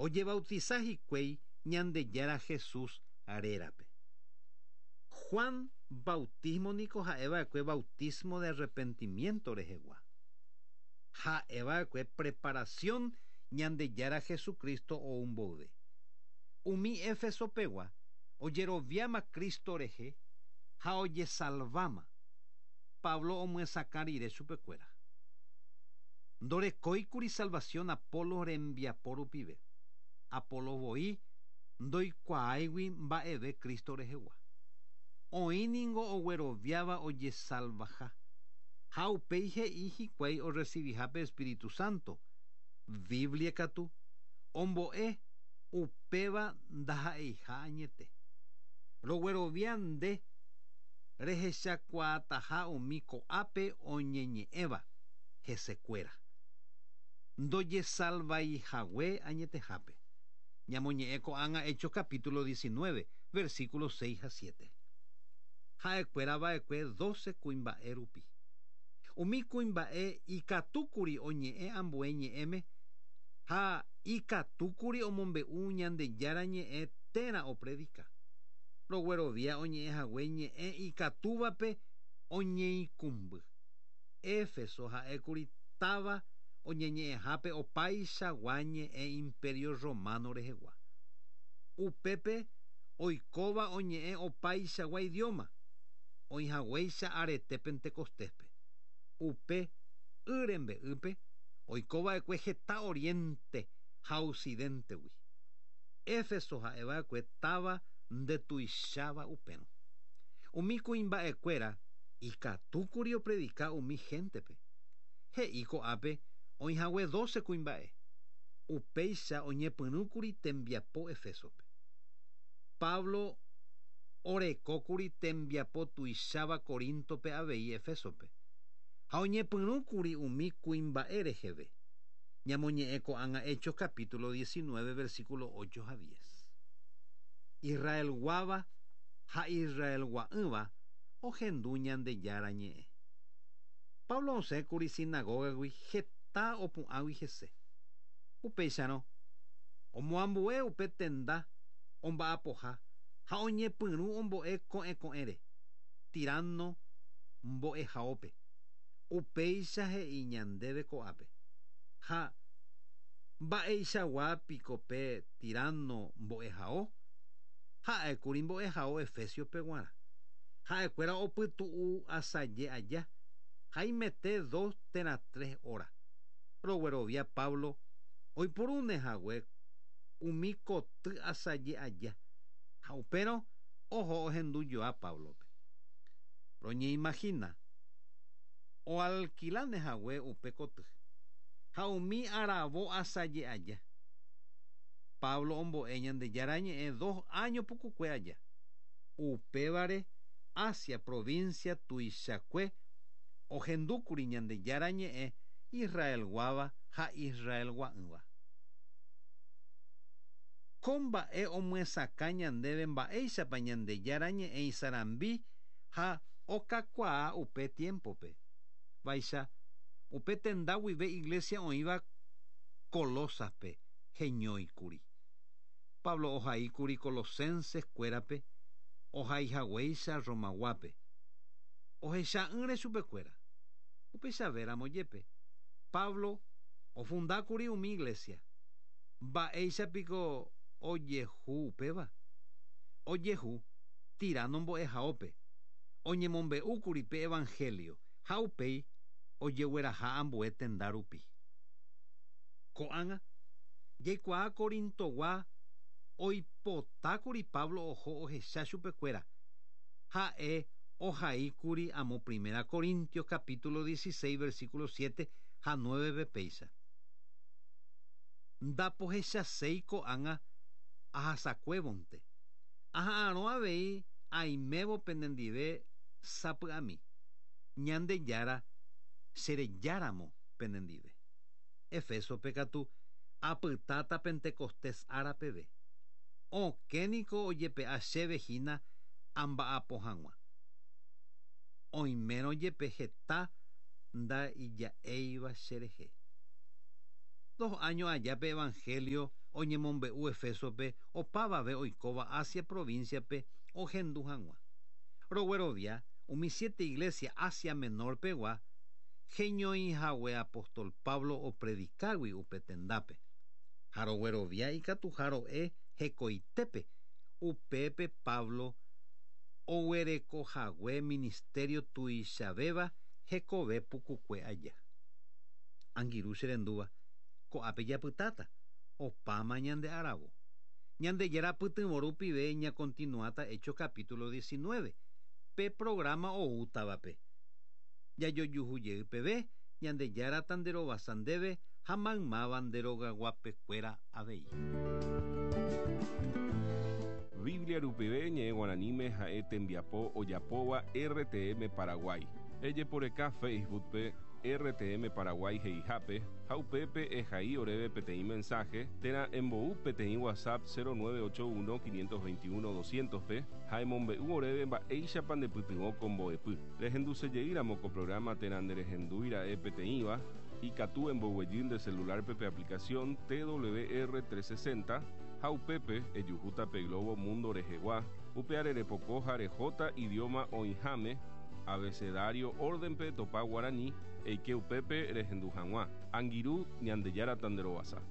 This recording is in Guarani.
Ojebautisa hikuái Ñandejára Jesús rérape. Juan bautismo niko ha'eva'ekue bautismo de arrepentimiento rehegua. Ha'eva'ekue preparación Ñandejára Jesucristo ou mboyve. Umi Éfeso pegua ojeroviáma Cristo rehe ha ojesalváma, Pablo omyesakã rire chupekuéra. Ndorekóikuri salvación Apolos rembiapo rupive. Apolos voi ndoikuaáigui mba'eve Cristo rehegua. Oĩ ningo ogueroviáva ojesalvaha. Ha upéi he'i hikuái orresiviha pe espíritu santo. Biblia katu ombo'e upéva ndaha'eiha añete. Roguerovia nde rehechakuaataha umi ko'ápe oñeñe'ẽva hesekuéra. Ndojesalvaihague añetehápe. Ñamoñe'ẽ ko'ág̃a Hechos capítulo 19, versículos 6 ha 7. Ha'ekuéra va'ekue 12 kuimba'e rupi. Umi kuimba'e ikatúkuri oñe'ẽ ambue ñe'ẽme ha ikatúkuri omombe'u Ñandejára ñe'ẽ térã opredika. Roguerovia oñe'ẽhague ñe'ẽ ikatúvape oñeikũmby. Éfeso ha'ékuri táva oñeñe'ẽhápe opaichagua ñe'ẽ Imperio Romano rehegua. Upépe oikóva oñe'ẽ opaichagua idioma, oĩhaguéicha arete Pentecostéspe. Upe y rembe'ýpe oikova'ekue heta oriente ha occidentegui. Éfeso ha'eva'ekue táva ndetuicháva upérõ. Umi kuimba'ekuéra ikatúkuri opredika umi héntepe. He'i ko'ápe oĩhague 12 kuimba'e. Upéicha oñepyrũkuri tembiapo Efésope. Pablo orekókuri tembiapo tuicháva Coríntope avei Efésope. Ha oñepyrũkuri umi kuimba'e reheve. Ñamoñe'ẽ ko'ág̃a Hechos capítulo 19 versículo 8 ha 10. Israelguáva ha Israelgua'ỹva ohendu Ñandejára ñe'ẽ. Pablo osẽkuri sinagógagui heta opu'ãgui hese. Upéicharõ, omoambue upe tenda omba'apoha ha oñepyrũ ombo'e ko'ẽko'ẽre, Tirano mbo'ehaópe. Upéicha he'i ñandéve ko'ápe. Ha mba'eichagua piko pe Tirano mbo'ehao? Ha'ékuri mbo'ehao Efésiope guarã. Ha'ekuéra opytu'u asaje aja, haimete 2 térã 3 hora. Roguerovia Pablo oipurúne hague umi koty asaje aja, ha upérõ oho ohendujoa Páblope. Roñeimagina oalkiláne hague upe koty, ha umi aravo asaje aja. Pablo ombo'e Ñandejára ñe'ẽ 2 áño pukukue aja. Upévare Asia provincia tuichakue ohendúkuri Ñandejára ñe'ẽ Israelguáva ha Israelgua'ỹva. Ko mba'e omyesakã ñandéve mba'éichapa Ñandejára ñe'ẽ isarambi ha okakuaa upe tiémpope. Vaicha, upe tenda guive iglesia oĩva Colósaspe heñóikuri. Pablo ohaíkuri Colosenses kuérape ohaihaguéicha Romaguápe. Ohecha'ỹre chupekuéra. Upeichavéramo jepe, Pablo ofundákuri umi iglesia. Mba'éicha piko ojehu upéva? Ojehu Tirano mbo'ehaópe, oñemombe'úkuri pe evangelio ha upéi ojegueraha ambue tenda rupi. Ko'ág̃a, jaikuaa Corintogua oipotákuri Pablo oho ohecha chupekuéra. Ha'e ohaíkuri amo Primera Corintios capítulo 16 versículo 7 ha 9-pe péicha. Ndapohechaséi ko'ág̃a ahasakuévonte. Aha'arõ avei aimévo penendive sapy'ami. Ñandejára cherejáramo penendive. Efésope katu apytáta Pentecostés ára peve. Okẽ niko ojepe'a chéve hína amba'apo hag̃ua. Oimérõ jepe heta ndaija'éiva cherehe. Dos áño aja pe evangelio oñemombe'u Efésope opavave oikóva Asia provincia-pe ohendu hag̃ua. Roguerovia umi siete iglesia Asia Menor-pegua heñoihague apóstol Pablo opredikágui upe tendápe. Ha roguerovia ikatuha ro'e hekoitépe upépe Pablo oguerekohague ministerio tuichavéva hekove pukukue aja. Angirũ che rendúva, ko'ápe japytáta, opáma ñande aravo. Ñandejára pytyvõ rupive ñakontinuáta Hechos capítulo 19, pe programa oútavape. Jajojuhu jey peve, Ñandejára tanderovasa ndéve ha maymáva nde rogaguapekuéra avei. Biblia rupive ñe'ẽ guaraníme ha'e tembiapo ojapóva RTM Paraguay. Ejeporeka Facebook-pe RTM Paraguay he'ihápe ha upépe ehai oréve peteĩ mensaje térã embou peteĩ WhatsApp 0981 521 200-pe ha emombe'u oréve mba'éichapa ndepytyvõ ko mbo'epy. Rehendusejeýramo ko programa térã nderehendúira'e peteĩva, ikatu emboguejy nde celular-pe pe aplicación TWR 360 ha upépe ejuhúta pe globo mundo rehegua, upeare repoko ha rehóta idioma oĩháme, abecedario orden-pe etopa guarani, eike upépe rehendu hag̃ua. Angirũ, Ñandejára tanderovasa.